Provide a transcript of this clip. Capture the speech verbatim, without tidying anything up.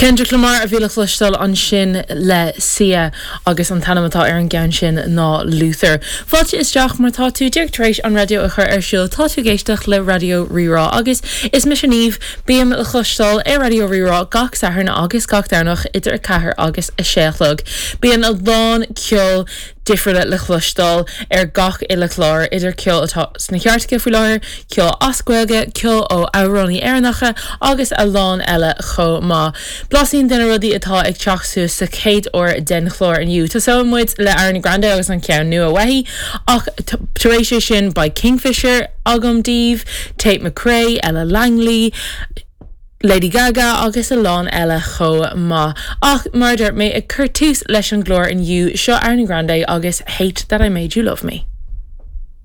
Kendrick Lamar a bhí le cloisteáil ansin le Sia agus an t-ainm atá ar an gceann sin ná Luther. Fáilte isteach má tá tú díreach tar éis an raidió a chur ar siúl tá tú ag éisteacht le Raidió Rí-Rá agus is mise Niamh bím le cloisteáil ar Raidió Rí-Rá gach Satharn agus gach Domhnach idir a ceathair agus a sé a chlog. Bíonn a lán ceol difriúla le cloisteáil ar gach uile chlár idir ceol atá sna cairteacha faoi láthair, ceol as Gaeilge, ceol ó amhránaithe Éireannacha agus a lán eile chomh maith. Blaisín de na rudaí atá ag teacht suas sa chéad uair den chlár inniu. Tosóidh muid le Ariana Grande agus an ceann nua uaithi ach tar éis sin beidh Kingfisher agam daoibh, Tate McRae, Ella Langley, Lady Gaga agus a lán eile chomh maith. Ach mar mé ag cur tús leis an gclár inniu seo Ariana Grande agus Hate that I Made You Love Me.